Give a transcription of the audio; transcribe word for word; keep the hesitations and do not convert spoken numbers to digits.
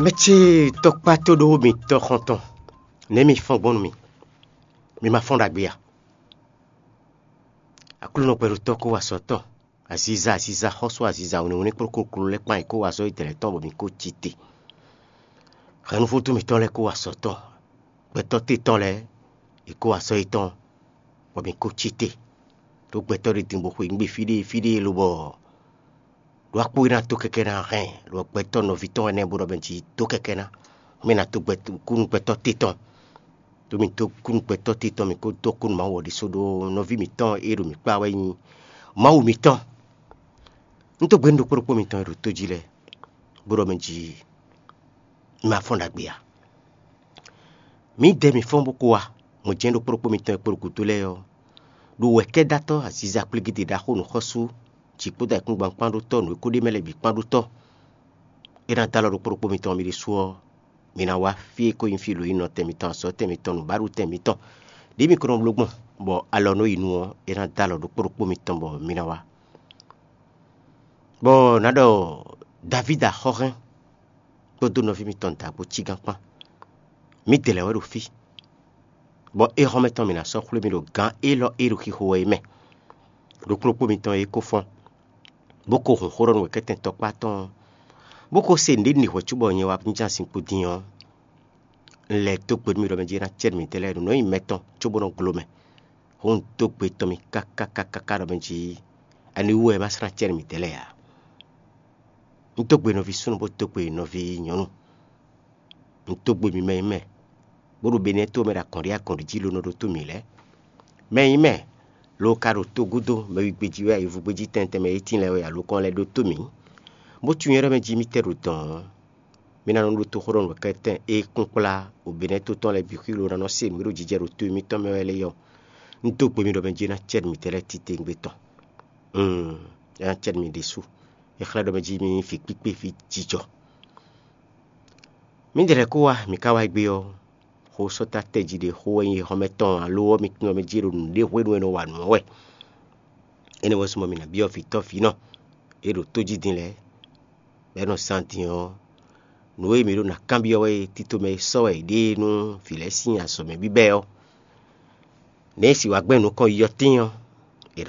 Mɛ ce tɔkpá tó ɖó mitɔ́ xɔ́ntɔn, nɛ̌ mi fɔ́n gbɔn nú mì? Mi ma fɔ́n ɖagbe a? Aklúnɔ gbɛɖotɔ́ kó wá sɔ́ tɔn, aziza aziza, xɔ́sú aziza wínníwínní kplókplókpló lɛ́ɛ kpán yě kó wá sɔ́ yi dɛ̌lɛ́ tɔn bɔ mi kó cí te. Hɛ̌nnúvútú mitɔn lɛ́ɛ kó wá sɔ́ tɔn, gbɛtɔ́ te tɔn lɛ́ɛ yě kó wá sɔ́ yětɔn bɔ mi kó cí te. Ɖó gbɛtɔ́ ɖé din bó xwe nǔ gbe fí ɖé fí ɖé lobɔ ɖó akpó e ná dó kɛkɛ ná hɛn, lɔ gbɛtɔ́ nɔví tɔn ɛnɛ bó ɖɔ mɛ jí dó kɛkɛ ná, mɛ ná dó kúnnu gbɛtɔ́ te tɔn. Ɖó mi dó kúnnu gbɛtɔ́ te tɔn, mi kó dó kúnnu Mawu ɔ́ ɖésú ɖó nɔví mǐtɔn e ɖo mǐ kpá wɛ nyí Mawu mǐtɔn. Un dó gbe nú ɖokpó ɖokpó mitɔn e ɖo tó jí lɛ́ɛ, bó ɖɔ mɛ jí ma fɔ́n ɖagbe ǎ. Mǐdɛɛ mi fɔ́n bó kó wá, mɔ̌ jɛ́n ɖokpó ɖokpó mitɔn e kpo ɖo gǔdo lɛ́ɛ ɔ́, ɖo wɛ̌kɛ́dátɔ́ aziza kplígídí ɖaxó nǔxɔ́sú jǐ kpódó ayǐkúngban kpán ɖó tɔ́, nǔ e kó ɖ'é mɛ lɛ́ɛ bǐ kpán ɖó tɔ́. É ná dó alɔ ɖokpó ɖokpó mitɔn mi ɖésú ɔ́, mi ná wá fí e ko nyí fí lǒyinɔtɛn mitɔn, azɔ̌tɛn mitɔn, nǔbaɖutɛn mitɔn, ɖě mi ko nɔ bló gbɔn, bɔ alɔ nɔ yi nu ɔ́, é ná dó alɔ ɖokpó ɖokpó mitɔn bɔ mi ná wá. Bɔ nǎ ɖɔ Davídi axɔ́hɛn kpódó nɔví mitɔn dǎgbó cígán kpán, mǐdɛɛ lɛ́ɛ wɛ ɖo fí, bɔ éhɔ́nmɛ tɔn mǐ ná sɔ́ xwlé mì ɖo gǎn élɔ́ e ɖo xixo wɛ é mɛ. Ɖokpó ɖokpó mitɔn e ko fɔ́n, bó ko hun xó ɖɔ nú wɛ̌kɛ́tɛn tɔkpá tɔn ɔ́, bó ko se nǔɖé ɖi hwɛ̌ cóbɔ nyɛ wá jínjɔ́n azinkpo din ɔ́, un lɛ́ dó gbe nú mi ɖɔ mɛ jí é ná cɛ nú mǐdɛɛ lɛ́ɛ ɖo nǔ e nyí mɛ tɔn cóbó nɔ glo mɛ. Hǔn un dó gbe tɔn mi káká káká ɖɔ mɛ jí ani wú wɛ é má sɔ́ ná cɛ nú mǐdɛɛ lɛ́ɛ ǎ. Un dó gbe nɔví súnnu bó dó gbe nɔví nyɔ̌nu. Un dó gbe mi mɛ nyí mɛ, bó ɖo Benɛ́to mɛ ɖo akɔ́nɖí akɔ́nɖí jí ló nɔ ɖótó mǐ lɛ́ɛ. Mɛ nyí mɛ, lo ka ɖo togúdo, mɛ wígbéjí wɛ, ayǐvúgbéjí tɛntɛn mɛ e tíin lɛ́ɛ wɛ alokɔ́n lɛ́ɛ ɖótó mǐ, bó tunwun nyɛ ɖɔ mɛ jí mì tɛ́ ɖo dɔ̌n ɔ́, mi ná nɔ ɖótó xó ɖɔ nǔkɛntɛn e kún kplá ɖo Benɛ́to tɔn lɛ́ɛ bǐ xwí lo ná nɔ se nǔ e ɖo jijɛ ɖo to mitɔn mɛ wɛ lɛ́ɛ ɔ́. Un dó gbe mi ɖɔ mɛ jí é ná cɛ nú mǐdɛɛ lɛ́ɛ titewungbe tɔn. Mm, é ná cɛ nú mi ɖésú. É xlɛ́ ɖɔ mɛ jí mi nyí vǐ kpíkpé, vǐ jijɔ. Mǐdɛɛ lɛ́ɛ kó wá, mǐ ka wá gbé ɔ́, xó sɔ́ ta tɛ́ jí ɖě xó wɛ nyí xɔ́mɛ tɔn alo ɔ́, mi tunwun mɛ jí ɖo nǔɖé hwenu e nɔ wa nǔ ɔ́ wɛ. Énɛ́ wɛ súnmọ́ mì nǎ byɔ́ vǐtɔ́ vǐnɔ e ɖo tó jí din lɛ́ɛ, bɔ é nɔ zán din ɔ́, nǔ e mǐ ɖo ná kanbyɔ́ wɛ é tito mɛ e sɔ́ wɛ è ɖe nú vǐ lɛ́ɛ sín azɔ̌ mɛ bíbɛ́ ɔ́. Nɛ̌ è sì wá gbɛn nukɔn yi ɔ́ tíin ɔ́,